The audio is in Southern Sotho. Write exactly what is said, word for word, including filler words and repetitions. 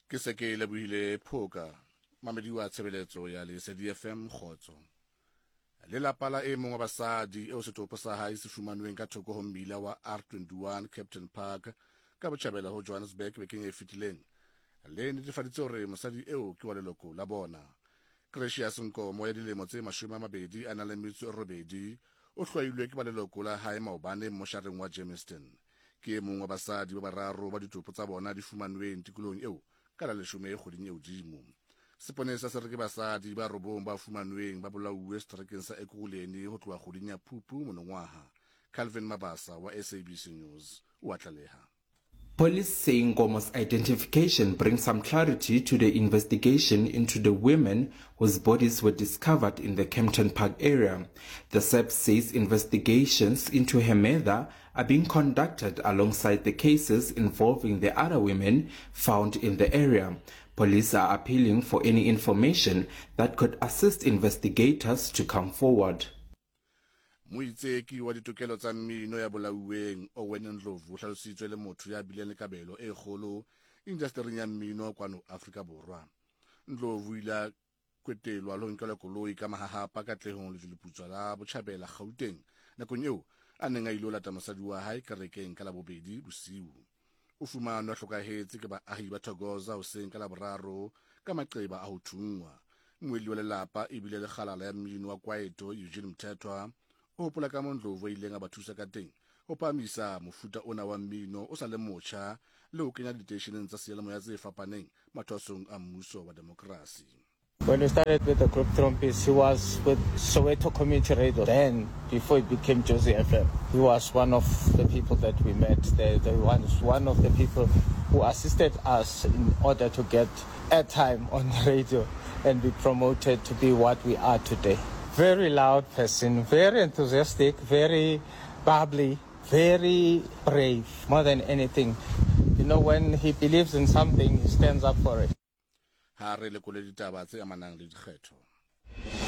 Ke se ke lebohile Phoka, mamedi wa tshebeletso ya Lesedi F M, kgotso. Lelapa la e mong wa basadi eo setopo sa hae se fumanweng ka thoko ho mmila wa R twenty-one Kempton Park ka botjhabela ho Johannesburg bekeng e fetileng le netefaditse hore mosadi eo ke wa leloko la bona. Gracious Nkomo ya dilemo tse mashome a mabedi a nang le metso e robedi o hlwailwe ke ba leloko la hae maobane moshareng wa Germiston. Ke e mong wa basadi ba bararo ba ditopo tsa bona di fumanweng tikolohong eo ka la leshome kgweding e hodimo. Seponesa se re ke basadi ba robong ba fumanweng ba bolauwe seterekeng sa Ekurhuleni ho tloha kgweding ya Phupu monongwaha. Calvin Mabasa wa S A B C News o a tlaleha. Police say Nkomo's identification brings some clarity to the investigation into the women whose bodies were discovered in the Kempton Park area. The S A P S says investigations into her murder are being conducted alongside the cases involving the other women found in the area. Police are appealing for any information that could assist investigators to come forward. Moitseki wa ditokelo tsa mmino ya bolauweng Owen Ndlovu o hlalositswe le motho ya bileng le kabelo e kgolo indastering ya mmino kwano Afrika Borwa. Ndlovu o ile a kwetelwa le ho nkelwa koloi ka mahahapa Katlehong, Lejweleputswa la Botjhabela, Gauteng, nakong eo a neng a ilo lata mosadi wa hae kerekeng ka Labobedi bosiu. O fumanwe a hlokahetse ke baahi ba Thokoza hoseng ka Laboraro ka maqeba a ho thunngwa. Mmuelli wa lelapa ebile le kgalala ya mmino wa kwaito Eugene Mthethwa o hopola ka mo Ndlovu a ileng a ba thusa ka teng ho phahamisa mofuta ona wa mmino o sa le motjha le ho kenya diteisheneng tsa seyalemoya tse fapaneng mathwasong a mmuso wa demokrasi. When we started with the group Trompies, he was with Soweto Community Radio then, before it became Jozi F M. He was one of the people that we met. The, the one, one of the people who assisted us in order to get airtime on the radio and be promoted to be what we are today. Very loud person, very enthusiastic, very bubbly, very brave, more than anything. You know, when he believes in something, he stands up for it. Ha re lekole ditaba tse amanang le dikgetho.